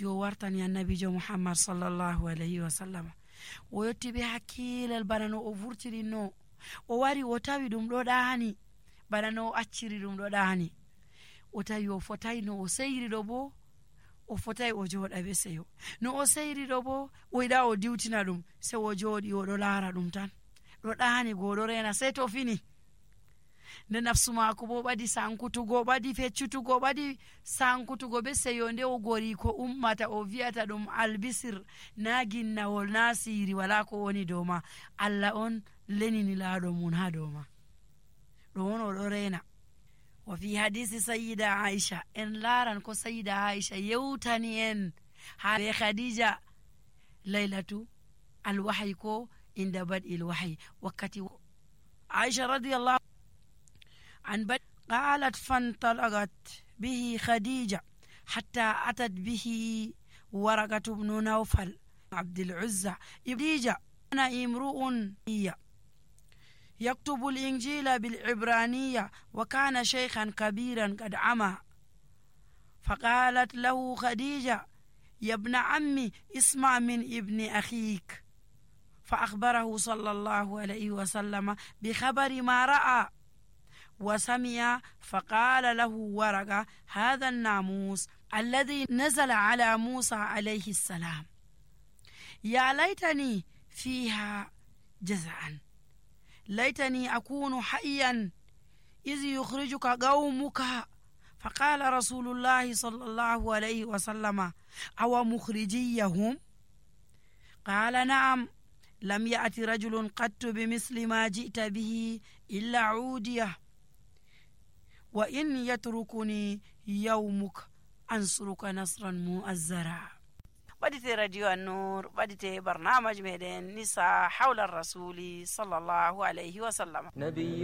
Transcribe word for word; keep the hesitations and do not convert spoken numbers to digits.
wakkati o wartani annabijo muhammad sallallahu alayhi wa sallam o yotti be hakkilal bana no o vurtirinno o wari o tawi ɗum ɗo ɗaani bana no o acciri ɗum ɗo ɗaani o tawi o fotai no o seyri ɗo bo o fotai o jooɗa be seyo no o seyri ɗo bo o yiɗa o diwtina ɗum se o jooɗi o ɗo laara ɗum tan ɗo ɗaani go ɗo rena sey to fini nde nafsu maako bo ɓadi sankutugo ɓadi feccutugo ɓadi sankutugo be seyo nde o gori ko ummata o wi'ata ɗum albisir na ginnawol na siiri wala ko woni dow ma Allah on lenini laaɗo mum ha dow ma ɗo on o ɗo rena wa fi hadisi sayyida Aisha en laaran ko sayyida Aisha yewtani en ha be Khadija laylatu alwahyi ko inda bad'il wahyi wakkati Aisha radiyallahu عن بد قالت فانطلقت به خديجة حتى أتت به ورقة بن نوفل عبد العزة خديجة أنا امرؤ يكتب الإنجيل بالعبرانية وكان شيخا كبيرا قد عمى فقالت له خديجة يا ابن عمي اسمع من ابن أخيك فأخبره صلى الله عليه وسلم بخبر ما رأى وسمع فقال له ورقة هذا الناموس الذي نزل على موسى عليه السلام يا ليتني فيها جزعا ليتني أكون حيا إذ يخرجك قومك فقال رسول الله صلى الله عليه وسلم أو مخرجيهم قال نعم لم يأتي رجل قط بمثل ما جئت به إلا عوديه وإن يتركني يومك أنصرك نصرا مؤزرا. بديت راديو النور بديت برنامج ميدان نساء حول الرسول صلى الله عليه وسلم. نبي